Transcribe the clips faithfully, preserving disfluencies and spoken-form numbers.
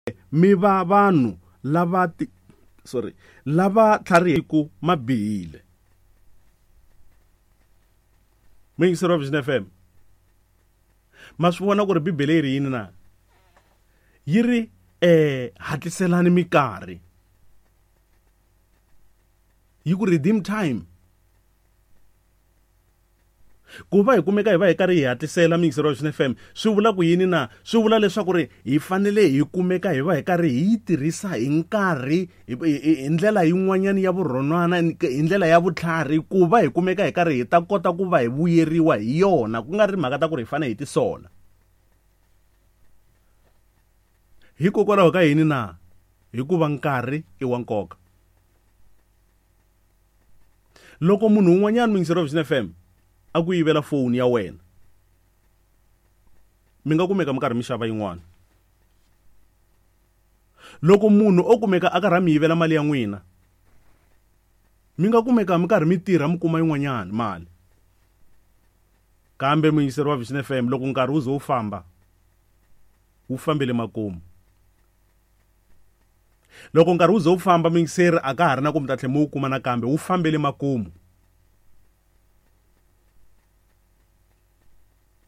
Mi va vanhu lava ti sorry lava tlhariheku ma bihile. Muyingiseri wa Vision F M, ma swi vona ku ri Bibele yi ri yini na? Yi ri eh hatliselani minkarhi. Yi ku redeem time. Ku va hi kumeka hi va hi karhi hi hatlisela muyingiseri wa Vision F M, swi vula ku yini na? Swi vula leswaku ri hi fanele hi kumeka hi va hi karhi hi yi tirhisa hi nkarhi, hi ndlela yin'wanyana ya vurhonwana, hi ndlela ya vutlhari, ku va hi kumeka hi karhi hi ta kota ku va hi vuyeriwa hi yona, ku nga ri mhaka ta ku ri hi fanele hi tisola. Hikokwalaho ka yini na? Hikuva nkarhi i wa nkoka. Loko munhu un'wanyana muyingiseri wa Vision F M a ku yivela foni ya wena, mi nga kumeka mi karhi mi xava yin'wana. Loko munhu o kumeka a karhi a mi yivela mali ya n'wina, mi nga kumeka mi karhi mi tirha mi kuma yin'wanyana mali. Kambe muyingiseri wa Vision F M, loko nkarhi wu ze wu famba, wu fambele makumu. Loko nkarhi wu ze wu famba, muyingiseri, a ka ha ri na ku mi ta tlhela mi wu kuma nakambe, wu fambele makumu.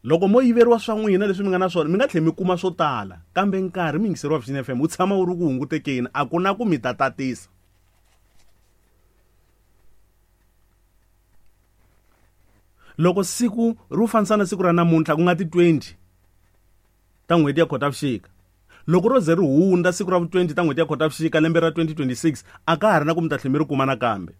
Loko mo yiveriwa swa n'wina leswi mi nga na swona, mi nga tlhela mi kuma swo tala, kambe nkarhi muyingiseri wa Vision F M wu tshama wu ri ku hungutekeni, a ku na ku mi ta tatisa. Loko siku ri fanisa na siku ra namuntlha, ku nga ti twenty ta n'hweti ya Khotavuxika, loko ro ze ri hundza siku ra vu twenty ta n'hweti ya Khotavuxika lembe ra twenty twenty-six, a ka ha ri na ku mi ta tlhela mi ri kuma nakambe.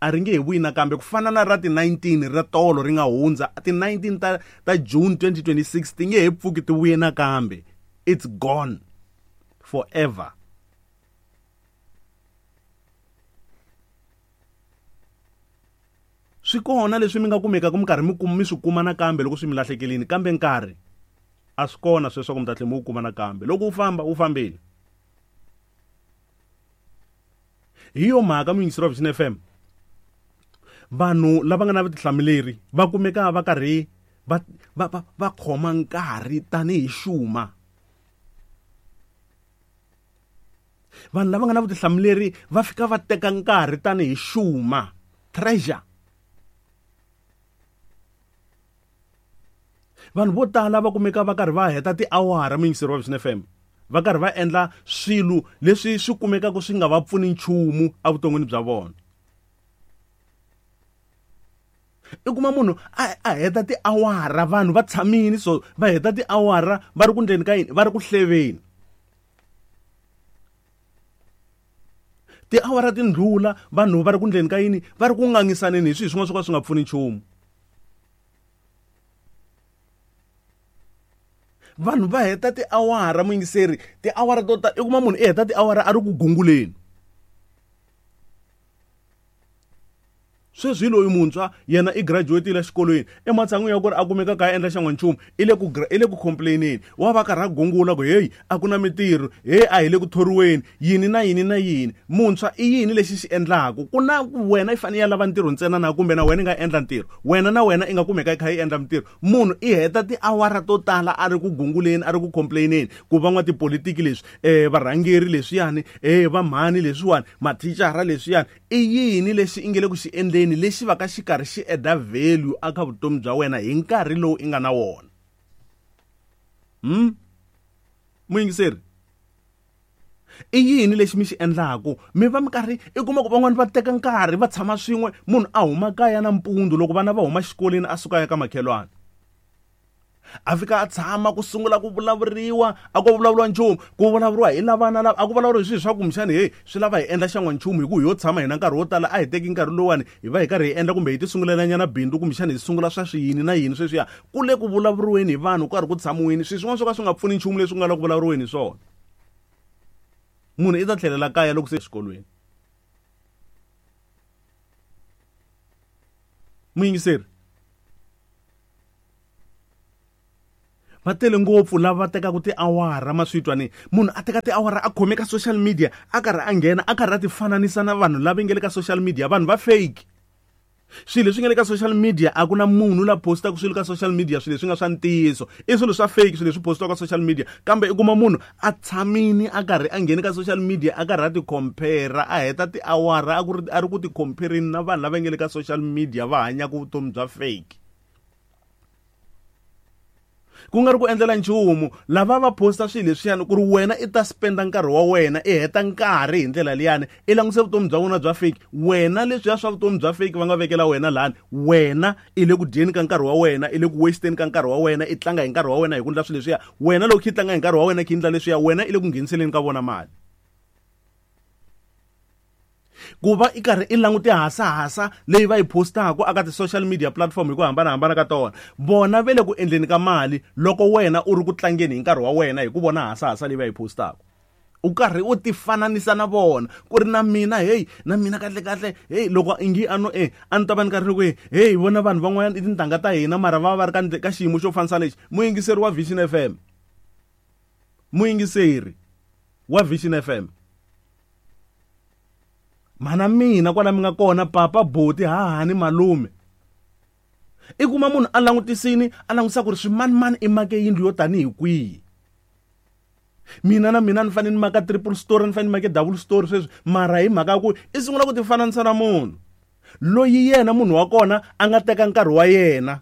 A ri nge he vuyi nakambe, ku fana na ra ti nineteen ra tolo ri nga hundza, ti nineteen ta, ta June twenty twenty-six ti nge he pfuki ti vuye nakambe. It's gone forever. Swi kona leswi mi nga kumekaka mi karhi mi kuma, mi swi kuma nakambe loko swi mi lahlekelini, kambe nkarhi a swi kona sweswo ku mi ta tlhela mi wu kuma nakambe. Loko wu famba, wu fambile. Hi yo mhaka muyingiseri wa Vision F M, vanhu lava nga na vutihlamuleri va kumeka va karhi va, va, va, va khoma nkarhi tanihi xuma. Vanhu lava nga na vutihlamuleri va fika va teka nkarhi tanihi xuma, treasure. Vanhu vo tala va kumeka va karhi va heta tiawara muyingiseri wa Vision F M, va karhi va endla swilo leswi swi kumekaka swi nga va pfuni nchumu evuton'wini bya vona. I kuma munhu a, a heta tiawara, vanhu va tshamile so va heta tiawara va ri ku ndleni ka yini, va ri ku hleveni. Tiawara ti ndlula vanhu va ri ku ndleni ka yini, va ri ku ngangisaneni hi swilo swin'wana swo ka swi nga pfuni nchumu. Vanhu va heta tiawara muyingiseri, tiawara to tala, i kuma munhu i heta tiawara a ri ku gunguleni. Sweswi hi loyi muntshwa yena i graduate-ile exikolweni, ematshan'wini ya ku ri a kumeka ka a endla xan'wanchumu, i le ku gra-, i le ku complain-eni. Wa va karhi a gungula ku hey, a ku na mintirho, hey, a hi le ku thoriweni, yini na yini na yini. Muntshwa i yini lexi xi endlaku? Ku na ku wena i fanele ya lava ntirho ntsena na kumbe na wena i nga endla ntirho? Wena na wena i nga kumeka i kha i endla mintirho. Munhu i heta tiawara to tala a ri ku gunguleni, a ri ku complain-eni, ku van'watipolitiki leswi, eh, varhangeri leswiyani, eh, vamhani leswiwani, mathicara leswiyani. I yini lexi i nge le ku xi endleni lexi va ka xi karhi xi add-a value eka vutomi bya wena hi nkarhi lowu i nga na wona? Hmm? Muyingiseri, i yini lexi mi xi endlaku? Mi va mi karhi i kuma ku van'wani va teka nkarhi va tshama swin'we, munhu a huma kaya nampundzu loko vana va huma xikolweni a suka ya ka makhelwani, a fika a tshama ku sungula ku vulavuriwa, a ku vulavuriwa nchumu, ku vulavuriwa hi lavana lava, a ku vulavuriwa hi swilo swa kumbexani, hey, swi lava hi endla xan'wanchumu hi ku hi yo tshama hina nkarhi wo tala, a hi teki nkarhi lowuwani hi va hi karhi hi endla kumbe hi ti sungulelanyana bindzu kumbexani hi sungula swa swiyini na yini sweswiya. Ku le ku vulavuriweni hi vanhu, ku karhi ku tshamiweni, swilo swin'wana swo ka swi nga pfuni nchumu leswi ku nga le ku vulavuriweni hi swona. Munhu i ta tlhelela kaya loko se exikolweni. Muyingiseri, va tele ngopfu lava va tekaka tiawara, ma swi twa ni munhu a teka tiawara a khome ka social media, a karhi a nghena, a karhi a ti fananisa na vanhu lava nge le ka social media, vanhu va fake. Swilo leswi nga le ka social media a ku na munhu la postaka swilo ka social media swilo leswi nga swa ntiyiso i swilo swa fake swilo leswi postiwaka ka social media kambe i kuma munhu a tshamini a karhi a ngheni ka social media a karhi a ti compare a heta tiawara a ku ri a ri ku ti comparini na vanhu lava nga le ka social media va hanyaka vutomi bya fake ku nga ri ku endlela nchumu lava va posta swilo leswiyani ku ri wena i ta spenda nkarhi wa wena i heta nkarhi hi ndlela liyani i langutise vutomi bya vona bya fake wena leswiya swa vutomi bya fake va nga vekela wena lani wena i le ku dyeni ka nkarhi wa wena i le ku wasteni ka nkarhi wa wena i tlanga hi nkarhi wa wena hi ku endla swilo leswiya wena loko i tlanga hi nkarhi wa wena ki endla leswiya wena i le ku ngheniseleni ka vona mali ku va i karhi i langute hasahasa leyi va yi postaka aka ti-social media platform hi ku hambanahambana ka tona vona ve le ku endleni ka mali loko wena u ri ku tlangeni hi nkarhi wa wena hi ku vona hasahasa leyi va yi postaka u karhi u tifananisa na vona ku ri na mina hey na mina kahle kahle hey loko ingi a no e a ni ta va ni karhi ni ku hey vona vanhu van'wanyana i tintangha ta hina mara va va va ri ka ka xiyimo xo fanisa lexi muyingiseri wa Vision F M muyingiseri wa Vision F M mana mina kwala mi nga kona papa boti hahani malume i kuma munhu a langutisini a langutisa ku ri swimanimani i make yindlu yo tanihi kwihi mina na mina ni fanele ni maka triple story ni fanele ni make double story sweswi mara hi mhaka ya ku i sungula ku tifananisa na munhu loyi yena munhu wa kona a nga teka nkarhi wa yena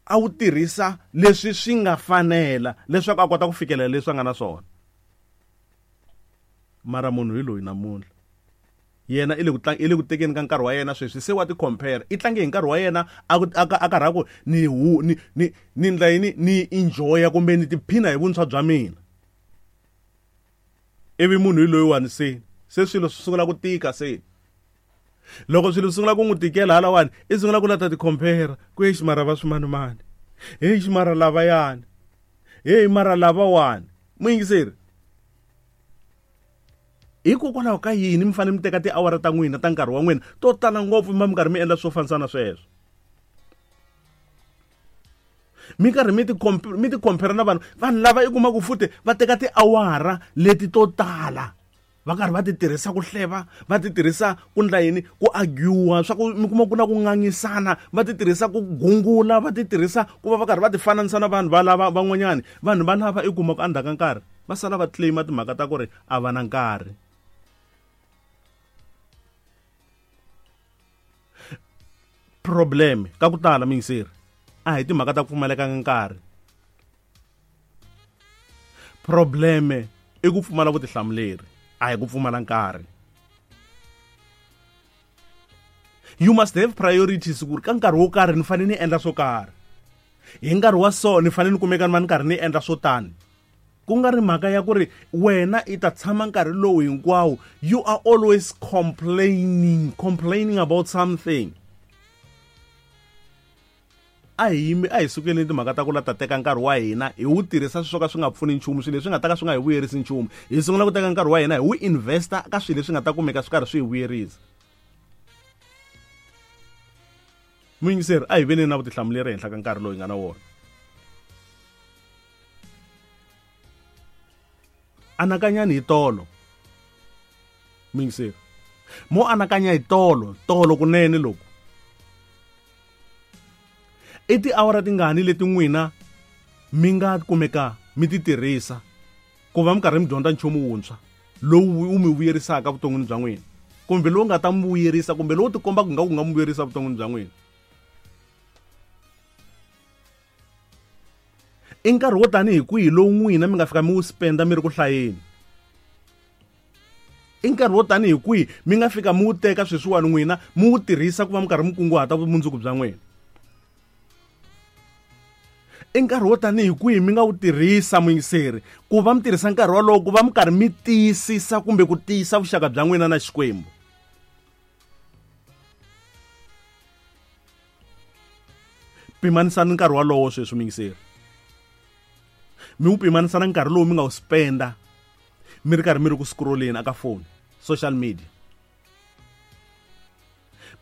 a wu tirhisa leswi swi nga fanela leswaku a kota ku fikelela leswi a nga na swona mara munhu hi loyi namuntlha yena i le ku tlang i le ku tekeni ka nkarhi wa yena sweswi se wa ti compare i tlange hi nkarhi wa yena a ku a karhi a ku ni hu ni ni ni ndla yini ni enjoya kumbe ni tiphina hi vuntshwa bya mina ivi munhu hi loyiwani se se swilo swi sungula ku tika se loko swilo swi sungula ku n'wi tikela halawani i sungula ku lata ti compare ku exi mara va swimanimani heyi mara lavayani heyi mara lavawani muyingiseri hikokwalaho ka yini mi fanele mi teka tiawara ta n'wina ta nkarhi wa n'wina to tala ngopfu mi va mi karhi mi endla swo fanisana sweswo mi karhi mi ti mi ti compare na vanhu vanhu lava i kuma ku futhi va teka tiawara leti to tala va karhi va ti tirhisa ku hleva va ti tirhisa ku ndla yini ku arguwa swa ku mi kuma ku na ku ngangisana va ti tirhisa ku gungula va ti tirhisa ku va va karhi va ti fananisa na vanhu va lava van'wanyani vanhu va lava i kuma ku endzhaku ka nkarhi va sala va claima timhaka ta ku ri a va na nkarhi problem ka ku tala miyingiseri a hi timhaka ta ku pfumaleka ka nkarhi probleme i ku pfumala vutihlamuleri a hi ku pfumala nkarhi you must have priorities ku ri ka nkarhi wo karhi ni fanele ni endla swo karhi hi nkarhi wa so ni fanele ni kumeka ni va ni karhi ni endla swo tani ku nga ri mhaka ya ku ri wena i ta tshama nkarhi lowu hinkwawo you are always complaining complaining about something a hi yimi a hi sukeleni timhaka ta ku la ta teka nkarhi wa hina hi wu tirhisa swilo swo ka swi nga pfuni nchumu swilo leswi nga ta ka swi nga hi vuyerisi nchumu hi sungula ku teka nkarhi wa hina hi wu investa ka swilo leswi nga ta kumeka swi karhi swi hi vuyerisa muyingiseri a hi veni na vutihlamuleri ehenhla ka nkarhi lowu hi nga na wona anakanyani hi tolo muyingiseri mo anakanya hi tolo tolo kunene loko i tiawara tingani leti n'wina mi nga kumeka mi ti tirhisa ku va mi karhi mi dyondza nchumu wuntshwa lowu wu mi vuyerisaka vuton'wini bya n'wina kumbe lowu nga ta mi vuyerisa kumbe lowu tikombaka nga ku nga mi vuyerisa vuton'wini bya n'wina i nkarhi wo tanihi kwihi lowu n'wina mi nga fika mi wu spenda mi ri ku hlayeni i nkarhi wo tanihi kwihi mi nga fika mi wu teka sweswiwani n'wina mi wu tirhisa ku va mi karhi mi kunguhata vumundzuku bya n'wina i nkarhi wo tanihi kwihi mi nga wu tirhisa muyingiseri ku va mi tirhisa nkarhi wolowo ku va mi karhi mi tiyisisa kumbe ku tiyisa vuxaka bya n'wina na Xikwembu pimanisani nkarhi wolowo sweswi muyingiseri mi wu pimanisa na nkarhi lowu mi nga wu spenda mi ri karhi mi ri ku scrolleni aka phone social media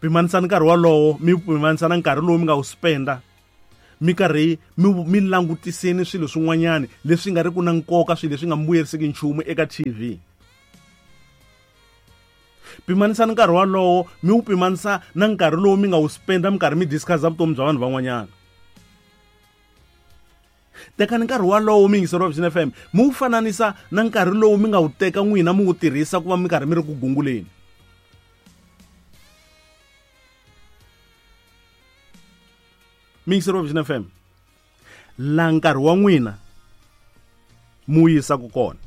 pimanisani nkarhi wolowo mi pimanisa na nkarhi lowu mi nga wu spenda mi karhi mi mi langutiseni swilo swin'wanyani leswi nga ri ku na nkoka swilo leswi nga mi vuyerisiki nchumu eka T V Pimanisani nkarhi walowo mi wu pimanisa na nkarhi lowu mi nga wu spenda mi karhi mi discuss vutomi bya vanhu van'wanyana. Tekani nkarhi walowo mi yingiseri wa Vision F M mi wu fananisa na nkarhi lowu mi nga wu teka n'wina mi wu tirhisa ku va mi karhi mi ri ku gunguleni. Mi yingiseri wa Vision F M, la nkarhi wa n'wina mi wu yisaka kona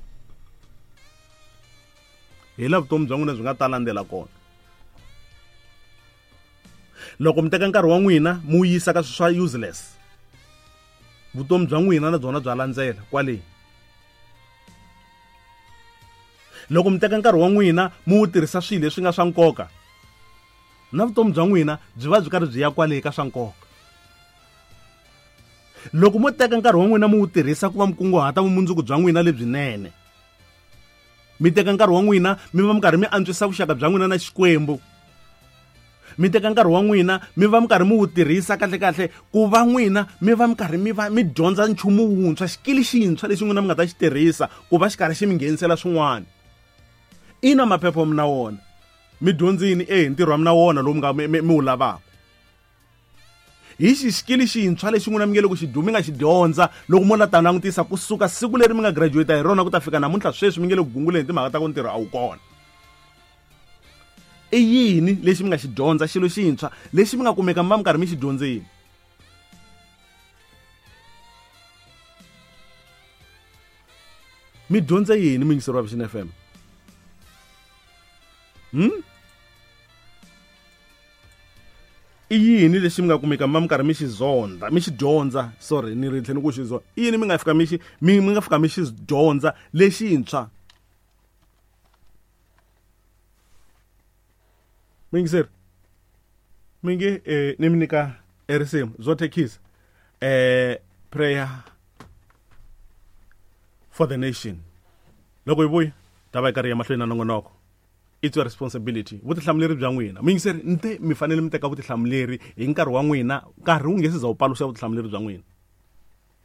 hi la vutomi bya n'wina byi nga ta landzela kona. Loko mi teka nkarhi wa n'wina mi wu yisa ka swa useless, vutomi bya n'wina na byona bya landzela kwale. Loko mi teka nkarhi wa n'wina mi wu tirhisa swilo leswi nga swa nkoka, na vutomi bya n'wina byi va byi karhi byi ya kwale ka swa nkoka. Loko mo teka nkarhi wa n'wina mi wu tirhisa ku va mi kunguhata vumundzuku bya n'wina lebyinene, mi teka nkarhi wa n'wina mi va mi karhi mi antswisa vuxaka bya n'wina na Xikwembu, mi teka nkarhi wa n'wina mi va mi karhi mi wu tirhisa kahle kahle ku va n'wina mi va mi karhi mi va mi dyondza nchumu wuntshwa, xikili xintshwa lexi n'wina mi nga ta xi tirhisa ku va xi karhi xi mi nghenisela swin'wana. Ina maphepha mi na wona, mi dyondzini e ntirho wa mina wona lowu mi nga mi wu lavaka. Hi xi xikili xintshwa lexi n'wina mi nge le ku xi mi nga xi dyondza loko mo la ta langutisa kusuka siku leri mi nga graduate hi rona ku ta fika namuntlha sweswi mi nge le ku gunguleni timhaka ta ku ntirho a wu kona. I yini lexi mi nga xi dyondza xilo xintshwa lexi mi nga kumeka mi va mi karhi mi xi dyondzini? Mi dyondze yini mi yingiseri wa Vision F M? Hmm? I yini lexi mi nga kumeka mi va mi karhi mi xi zonda mi xi dyondza, sorry ni ri tlhela ku xi zonda, i yini mi nga fika mi xi mi mi nga fika mi xi dyondza lexintshwa? Muyingiseri, mi nge eh, ni mi nyika risimu Zotekis eh prayer for the nation. Loko hi vuya ta va hi karhi ya mahlweni na nongonoko. It's your responsibility, vutihlamuleri bya n'wina. Muyingiseri, nte mi fanele mi teka vutihlamuleri hi nkarhi wa n'wina, nkarhi wu nge se za wu paluxa vutihlamuleri bya n'wina.